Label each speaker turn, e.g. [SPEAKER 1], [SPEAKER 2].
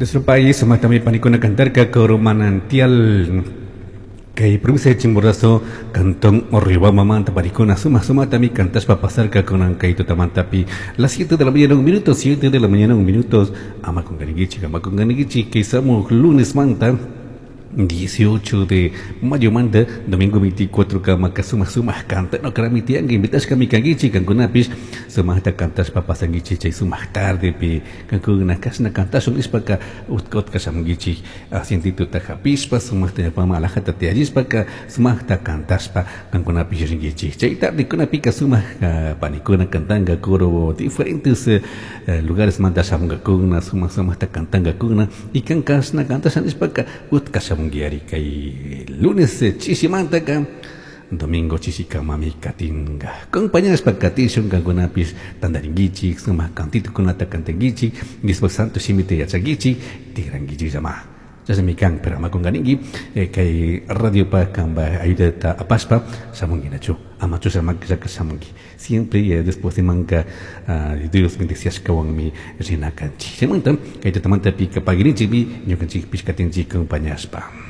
[SPEAKER 1] Nuestro país, sumatami panikuna cantarka Coro Manantial kay provincia de Chimborazo, cantón Riobamba panikuna suma sumatami cantashpa pasarka kunan kay tutamantapi las 7 de la mañana un minuto, 7 de la mañana un minuto, ama kunqarinkichik, ama kunqarinkichik, kay shamuj lunes manta 18 de mayo manta, domingo 24 kama suma suma cantana karami tiyanka invitashkami kankichik kankunapish sumaqta cantashpa pasankichik chay sumaq tardepi kankuna kashna cantashun nishpaka utka utka shamunkichik asientituta hapishpa sumaqta ñawpama alajata tiyallishpaka sumaqta cantashpa kankunapish rinkichik chay tardekunapika sumaq panikuna cantanka coro diferentes lugares manta shamunkakuna sumaq sumaqta cantankakuna y kan kashna cantasha nishpaka utka shamunki kay lunes chishimantaka domingo chishikamami katinka acompañashpa katishun kankunapish tantarinkichik sumaq cantitukunata cantankichik Diospak santo shimita yachankichik tikrankichik llama chashnami kan pero ama kunkaninki kay radiopa kanpa ayudata apashpa shamunkinachu ama chushamakllaka shamunki siempre después de manka Dios bendeciashkawanmi rina kanchik chaymanta kay tutamantapi pagirinchikmi ñukanchikpish katinchik acompañashpa.